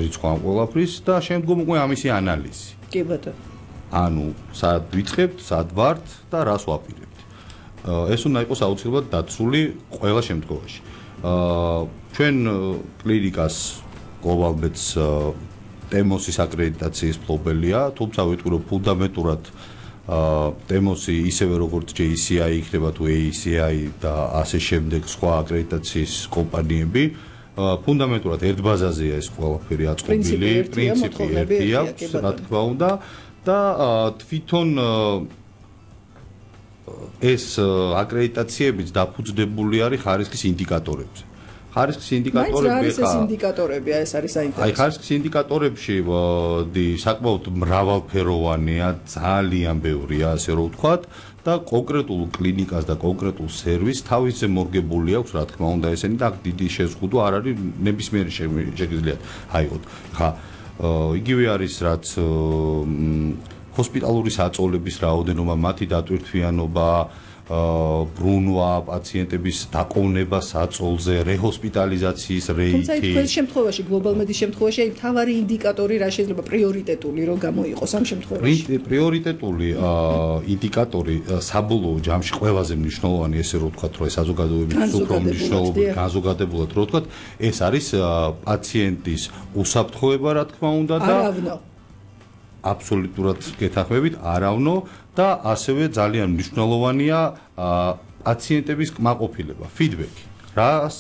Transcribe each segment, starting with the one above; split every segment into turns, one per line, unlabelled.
რიცხვ ამ ყველაფრის და შემდგომ უკვე ამისი ანალიზი.
კი ბატონო.
ანუ სად ვიწყებთ, სად ვართ და რას ვაპირებთ. ეს უნდა იყოს აუცილებლად დაცული ყველა შემთხვევაში. ჩვენ კლინიკას გლობალბედს ტემოსის აკრედიტაციის ფლობელია, თუმცა ვიტყვი რომ ფუნდამენტურად ტემოსი ისევე როგორც JCI იქნება თუ ACI და ასე შემდეგ სხვა აკრედიტაციის კომპანიები ფუნდამენტურად ერთ ბაზაზეა ეს ყველაფერი აწყობილი, პრინციპი ერთი აქვს, რა თქმა უნდა და თვითონ ეს აკრედიტაციებიც დაფუძნებული არის ხარისხის ინდიკატორებზე. ხარისხის ინდიკატორები
ეს ინდიკატორებია, ეს არის საინტერესო.
აი ხარისხის ინდიკატორებში საკმაოდ მრავალფეროვანია, ძალიან ბევრია, ასე რომ ვთქვათ და კონკრეტულ კლინიკას და კონკრეტულ სერვისს თავისზე მორგებული აქვს, რა თქმა უნდა, ესენი და დიდი შეზღუდვა არ არის ნებისმიერი შეგიძლიათ აიღოთ. ხა იგივე არის რაც ჰოსპიტალური საწოლების რაოდენობა, მათი დატვირთვიანობა, ბრუნვა, პაციენტების დაყოვნება საწოლზე, რეჰოსპიტალიზაციის რეიტი.
თუმცა თქვენ შემთხვევაში, გლობალმედის შემთხვევაში, აი მთავარი ინდიკატორი რა შეიძლება პრიორიტეტული რომ გამოიყოს ამ შემთხვევაში?
პრიორიტეტული ინდიკატორი საბოლოო ჯამში ყველაზე მნიშვნელოვანი, ესე რომ ვთქვათ, რომ საზოგადოების უფრო მნიშვნელოვანი, განზოგადებულად რომ ვთქვათ, ეს არის პაციენტის უსაფრთხოება, რა თქმა უნდა და აბსოლუტურად გეთანხმებით, არავნო და ასევე ძალიან მნიშვნელოვანია პაციენტების კმაყოფილება, ფიდბექი. რას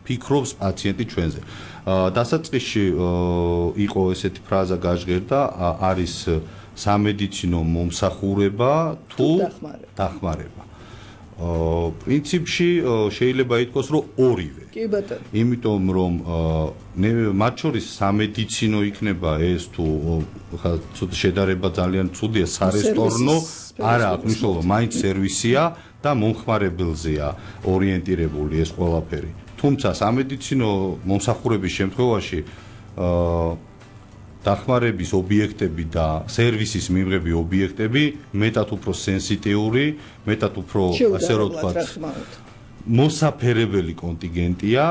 ფიქრობს პაციენტი ჩვენზე? დასაწყისში იყო ესეთი ფრაზა გაჟღერდა, არის სამედიცინო მომსახურება თუ დახმარება. პრინციპში შეიძლება ითქვას, რომ ორივე.
კი ბატონო.
იმიტომ რომ მათ შორის სამედიცინო იქნება ეს თუ ცოტა შედარება ძალიან ცუდია, სარესტორნო არა აქვს მნიშვნელობა, მაინც სერვისია და მომხმარებელზეა ორიენტირებული ეს ყველაფერი. თუმცა სამედიცინო მომსახურების შემთხვევაში დახმარების ობიექტები და სერვისის მიღები ობიექტები მეტად უფრო სენსიტიური, მეტად უფრო ასე რომ ვთქვათ, მოსაფერებელი კონტინგენტია,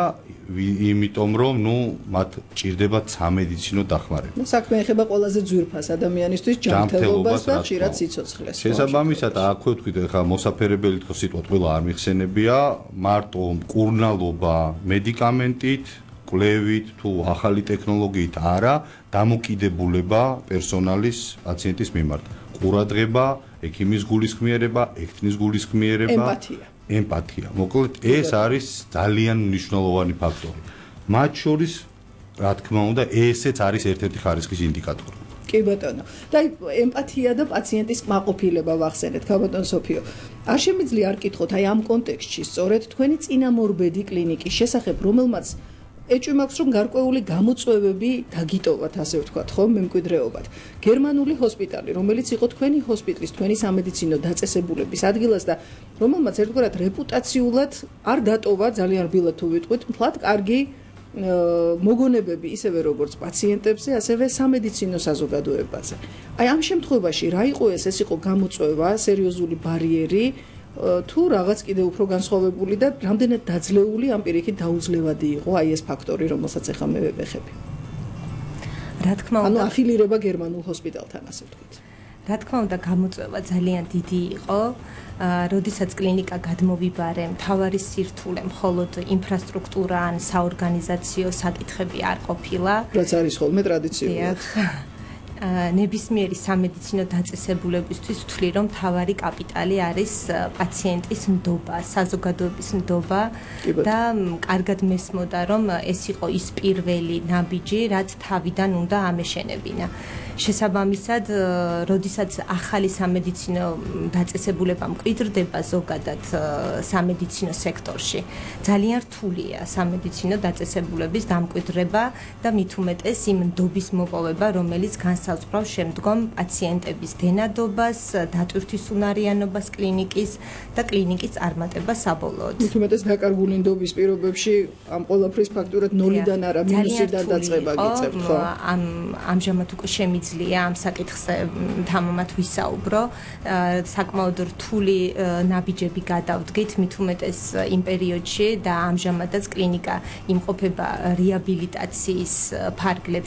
იმიტომ რომ მათ ჭირდებათ სამედიცინო დახმარება.
საქმე ეხება ყველაზე ძვირფას ადამიანისთვის ჯანმრთელობას და ხშირად სიცოცხლეს.
შესაბამისად, აქვე ვთქვით, ხა მოსაფერებელი თქო სიტყვა ყველა არ მიხსენებია, მარტო მკურნალობა მედიკამენტით კვლევით თუ ახალი ტექნოლოგიით არა, დამოკიდებულება პერსონალის პაციენტის მიმართ. ყურადღება, ექიმის გულისხმიერება, ექთნის გულისხმიერება, ემპათია. მოკლედ, ეს არის ძალიან მნიშვნელოვანი ფაქტორი. მათ შორის, რა თქმა უნდა, ესეც არის ერთ-ერთი ხარისხის ინდიკატორი.
კი ბატონო. და ემპათია და პაციენტის კმაყოფილება ვახსენეთ, ბატონო სოფიო. არ შემიძლია არ კითხოთ აი ამ კონტექსტში, სწორედ თქვენი წინამორბედი კლინიკის შესახებ, რომელმაც ეჭვი მაქვს რომ გარკვეული გამოწვევები დაგიტოვათ, ასე ვთქვათ, ხო, მემკვიდრეობად. გერმანული ჰოსპიტალი, რომელიც იყო თქვენი ჰოსპიტალის, თქვენი სამედიცინო დაწესებულების ადგილას და რომელმაც ერთგვარად რეპუტაციულად არ დატოვა, ძალიან რბილად თუ ვიტყვით, მთლად კარგი მოგონებები ისევე როგორც პაციენტებზე, ასევე სამედიცინო საზოგადოებაზე. აი ამ შემთხვევაში რა იყო ეს იყო გამოწვევა, სერიოზული ბარიერი თუ რაღაც კიდე უფრო განსხვავებული და რამდენად დაძლეული ამ პირიქით დაუძლევადი იყო აი ეს ფაქტორი, რომელსაც ახლა მე ვებეხები.
რა თქმა უნდა,
ანუ αφილირება გერმანულ ჰოსპიტალთან, ასე ვთქვით.
რა თქმა უნდა, გამოწვევა ძალიან დიდი იყო. როდესაც კლინიკა გადმოვიბარე, მთავარი სირთულე მხოლოდ ინფრასტრუქტურა ან საორგანიზაციო საკითხები არ ყოფილა.
რაც არის ხოლმე ტრადიციულად.
ნებისმიერი სამედიცინო დაწესებულებისთვის ვთვლი, რომ მთავარი კაპიტალი არის პაციენტის ნდობა, საზოგადოების ნდობა და კარგად მესმოდა, რომ ეს იყო ის პირველი ნაბიჯი, რაც თავიდან უნდა ამეშენებინა. შესაბამისად, როდესაც ახალი სამედიცინო დაწესებულება მკვიდრდება ზოგადად სამედიცინო სექტორში, ძალიან რთულია სამედიცინო დაწესებულების დამკვიდრება და მით უმეტეს იმ ნდობის მოპოვება, რომელიც განსაზღვრავს შემდგომ პაციენტების დენადობას, დატვირთვის უნარიანობას კლინიკის და კლინიკის წარმატებას საბოლოოდ.
მით უმეტეს დაკარგული ნდობის პირობებში ამ ყველაფრის ფაქტურად ნოლიდან არა მინუსიდან დაწყება გიწევთ, ხო?
ამჟამად უკვე შემიძლია შეიძლია ამ საკითხზე თამამად ვისაუბრო. საკმაოდ რთული ნაბიჯები გადავდგით, მით უმეტეს იმ პერიოდში და ამჟამადაც კლინიკა იმყოფება რეაბილიტაციის ფარგლებში.